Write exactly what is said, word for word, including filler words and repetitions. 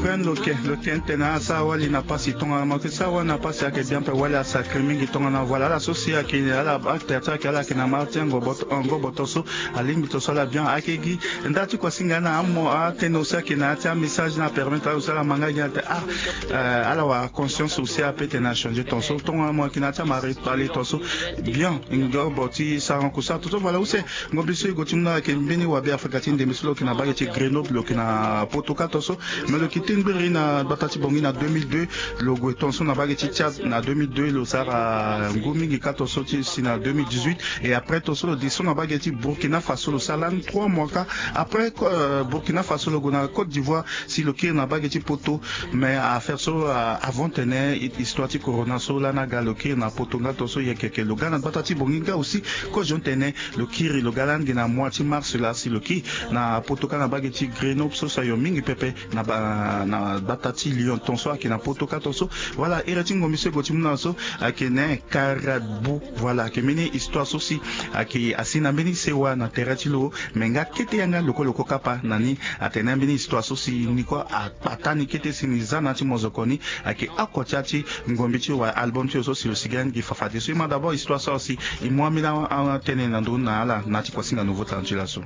Loke loke tene asara wali na pasi tongana mo yeke sara wali na pasi ayeke bien mpe wali asakri mingi tongana voilà ala so si ayeke ala acte ti ayeke ala yeke na mara ti ango boto ango boto so. Alingbi to so ala bien ayeke gi nda ti kuasinga na amo atene aussi ayeke na ya ti amessage na apermettre ala aussi ala ma nga gi ate ah. Ala wara conscience aussi ape tene achangé ton so tongana mo yeke na ya ti amari pale ton so. Bien ngobo ti saranku sara ton so voilà use. Ngombe so e gue ti mu na ayeke mbeni wabe afrika ti ndembe so lo yeke na mbage ti grenoble lo yeke na poto ka ton so. Mais lo yeke ti ngbiri na gbata ti bongi na deux mille deux. Lo gue ton so na mbage ti tchad na deux mille deux lo sara ngu mingi ka ton so ti si na deux mille dix-huit. Et après ton so lo di so na mbage ti burkina faso lo sara lani trois mois ka. Après burkina faso lo gue na côte d'ivoire si lo kiri na mbage ti poto. Mais affaire so avant tene histoire ti corona so lani aga lo kiri na poto nga ton so yeke yeke lo ga na gbata ti bongi nga aussi. Kozo tene lo kiri lo ga lani gi na mois ti mars laa si lo kiri na poto ka na mbage ti grenoble so si ayo mingi pepe na gbata ti lyon ton so ayeke na poto ka ton so. Voilà ere ti ngombe so e gue ti mu na so ayeke ne karabu. Voilà ayeke mbeni histoire so si ayeke asi na mbeni sewa na tere ti lo. Me nga kete yanga lokoloko kapa na ni atene ambeni histoire so si ni kue akpata ni kete si ni za na ya ti mozoko ni. Ayeke oko ti ya ti ngombi ti wa album ti lo so si lo sigi ani gi fafade so e ma d'abord histoire so si e mu ambeni atene na ndö na ala na ya ti kuasinga nouveau talent ti laso.